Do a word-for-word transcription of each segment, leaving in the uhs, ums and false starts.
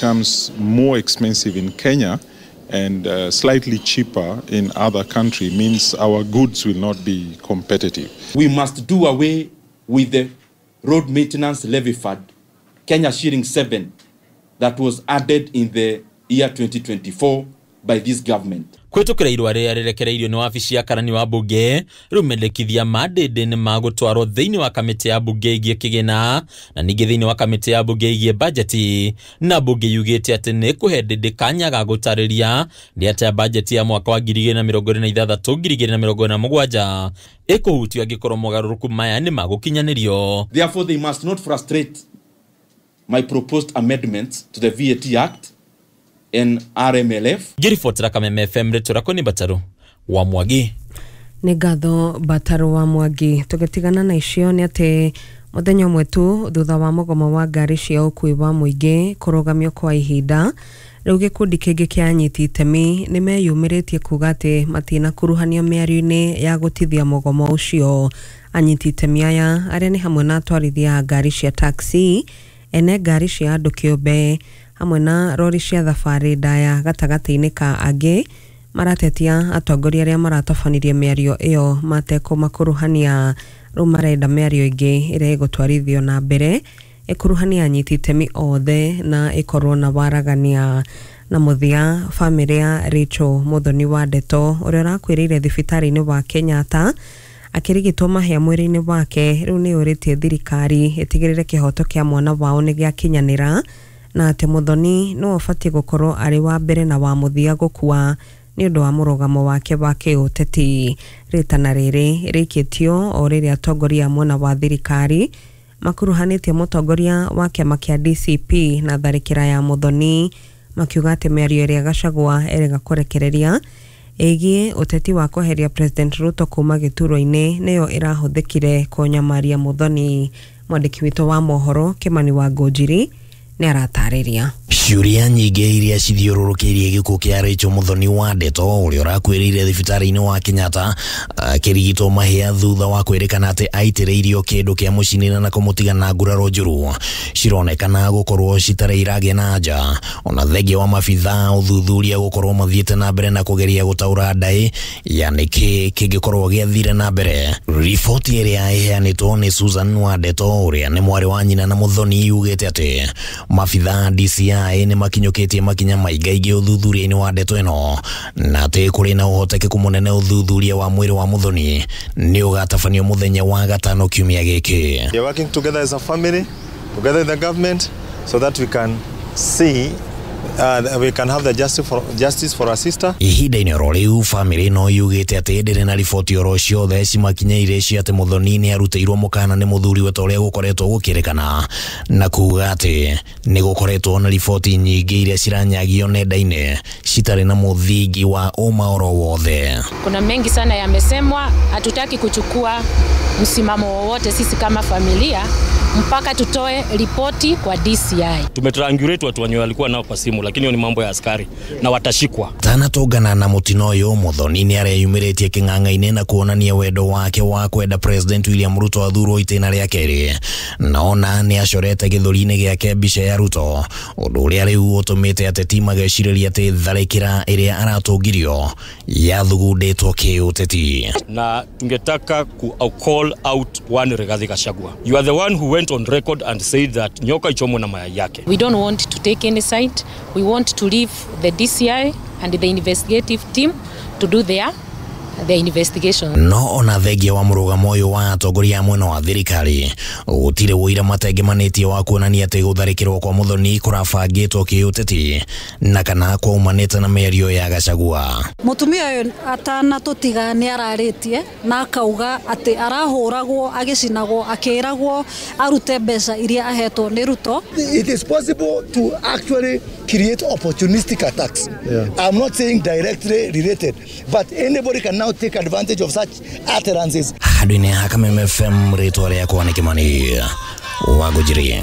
becomes more expensive in Kenya and uh, slightly cheaper in other country means our goods will not be competitive. We must do away with the road maintenance levy fund, Kenya shilling seven, that was added in the year twenty twenty-four by this government. Kwitukira irua riria rirekereirio ni wabici ya karani wa bunge riu mendekithia ma Ndindi ni magutwarwo thiini wa kamiti ya bunge igie kigina na ningi thiini wa kamiti ya bunge igie bajeti na bunge yugite ati ni kuhe Ndindi kanya ga gutariria ni atia bajeti ya mwaka wa ngiri igĩrĩ na mĩrongo ĩrĩ na ithathatũ ngiri igĩrĩ na mĩrongo ĩna na mũgwanja ikuhutio angikorwo mogarũrũku maya ni magukinyanĩrio. Therefore they must not frustrate my proposed amendments to the V A T Act and R M L F. Ngiribotera Kameme F M rĩtwa rĩakwa nĩ Bataru wa Mwangi. Nĩ ngatho Bataru wa Mwangi. Tũgĩtigana na icio nĩ atĩ mũthenya ũmwe tu thutha wa mũgomo wa ngari cia ũkuui wa mũingĩ kũrũgamio kwa ihinda, rĩu gĩkundi kĩngĩ kĩa anyiti itemi nĩ meyumĩrĩtie kuga atĩ matinakuruhanio mĩario-inĩ ya gũtithia mũgomo ũcio. Anyiti itemi aya arĩa nĩ hamwe na atwarithia a ngari cia taxi, ene ngari cia andũ kĩũmbe hamwe na rori cia thabarĩ ndaya gatagatĩ-inĩ ka angĩ maratetia atongoria arĩa maratabanirie mĩario ĩyo matekũmakuruhania. Rĩu marenda mĩario ĩngĩ ĩrĩa ĩgũtwarithio na mbere ĩkuruhania anyiti itemi othe na ĩkorwo na waragania. Na mũthia, bamĩrĩ ya Rachel Muthoni wa Ndeto ũrĩa ũrakuĩrĩire thibitarĩ-inĩ wa Kenyatta akĩrigitwo mahĩa mwĩrĩ-inĩ wake rĩu nĩ yũrĩtie thirikari ĩtigĩrĩre kĩhoto kĩa mwana wao nĩ gĩakinyanĩra na atĩ Muthoni nĩwe ũbatiĩ gũkorwo arĩ wa mbere na wa mũthia gũkua nĩ ũndũ wa mũrũgamo wake wa kĩũteti. Rĩtana rĩrĩ rĩikĩtio o rĩrĩa atongoria a mwena wa thirikari makuruhanĩtie mũtongoria wa kĩama kĩa D C P na tharĩkĩra ya Muthoni makiuga atĩ mĩario ĩrĩa Gachagua erega kũrekereria ĩgiĩ ũteti wa kweheria President Ruto kuma gĩturwa-inĩ nĩyo ĩrahũthĩkire kũnyamaria Muthoni. Mwandĩki witũ wa mohoro Kimani wa Ngũnjiri nĩ aratarĩria. Ciũria nyingĩ iria cithiũrũrũkĩirie gĩkuũ kĩa Rachel Muthoni wa Ndeto ũrĩa ũrakuĩrĩire thibitarĩ-inĩ wa Kenyatta akĩrigitwo mahĩa thutha wa kwĩrĩkana atĩ aitĩrĩirio kĩndũ kĩa mũcinĩra na kũmũtiga na nguraro njũru cironekana gũkorwo citarĩ iragĩa na anja. Ona thengia wa mabithaa ũthuthuria gũkorwo mathiĩte na mbere na kũgeria gũtaũra ndaĩ ya nĩkĩ kĩngĩkorwo gĩathire na mbere. Riboti ĩrĩa ĩheanĩtwo nĩ Susan wa Ndeto ũrĩa nĩ mwarĩ wa nyina na Muthoni yugĩte atĩ mabithaa D C I nĩ makinyũkĩtie makinya maingaingĩ ũthuthuria-inĩ wa ndeto ĩno na atĩ kũrĩ na ũhotekeku mũnene ũthuthuria wa mwĩrĩ wa Muthoni nĩ ũgatabanio mũthenya wa gatano kiumia gĩkĩ. We are working together as a family, together with the government, so that we can see Uh, we can have the justice for, justice for our sister. Ihinda-inĩ oro rĩu bamĩrĩ no yugĩte atĩ ndĩrĩ na riboti oro ciothe cimakinyĩire cia atĩ Muthoni nĩ arutĩirwo mũkana nĩ mũthuriwe ta ũrĩa gũkoretwo gũkĩrĩkana na kuga atĩ nĩ gũkoretwo na riboti nyingĩ iria ciranyagio nenda-inĩ citarĩ na mũthingi wa ũma oro wothe. Kuna mengi sana yamesemwa, hatutaki kuchukua msimamo wowote sisi kama familia mpaka tutoe ripoti kwa D C I. Tumetriangulate watu wenye walikuwa nao kwa simu, lakini hiyo ni mambo ya askari na watashikwa. Tanatũngana na mũtino ũyũ Muthoni nĩ areyumĩrĩtie kĩng'ang'a-inĩ na kuonania wendo wake wa kwenda President William Ruto athurwo itĩna rĩa kerĩ. Naona nĩ acorete gĩthũri-inĩ gĩake mbica ya Ruto, ũndũ ũrĩa rĩu ũtũmĩte ateti magecirĩria atĩ tharĩkĩra ĩrĩa aratũngirio yathugundĩtwo kĩũteti. Na tungetaka ku call out one Rigathi Gachagua. You are the one who went on record and said that nyoka ichomwe na mayai yake. We don't want to take any side. We want to leave the D C I and the investigative team to do their the investigation. No ona thengia wa mũrũgamo ũyũ wa atongoria a mwena wa thirikari gũtirĩ ũira matengemanĩtie wa kuonania atĩ gũtharĩkĩrwo kwa Muthoni kũrabangĩtwo kĩũteti na kana kwaumanĩte na mĩario ya Gachagua. Mũtumia ũyũ atanatũtiga nĩ ararĩtie na akauga atĩ arahũragwo agĩcinagwo akĩragwo arute mbeca iria ahetwo nĩ Ruto. It is possible to actually create opportunistic attacks. Yeah. I'm not saying directly related, but anybody can now take advantage of such utterances. Handũ-inĩ ha Kameme F M rĩtwa rĩakwa nĩ Kimani wa Ngũnjiri.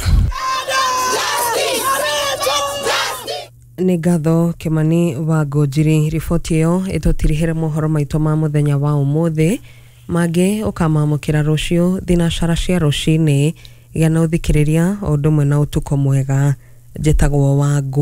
Nĩ ngatho Kimani wa Ngũnjiri. Riboti ĩyo ĩtũtirihĩre mohoro maitũ ma mũthenya wa ũmũthĩ, mangĩ ũkamamũkĩra rũciũ thinacara cia rũcinĩ. Gĩa na ũthikĩrĩria o ũndũ ũmwe na ũtukũ mwega. Njĩtagwo Wangũ.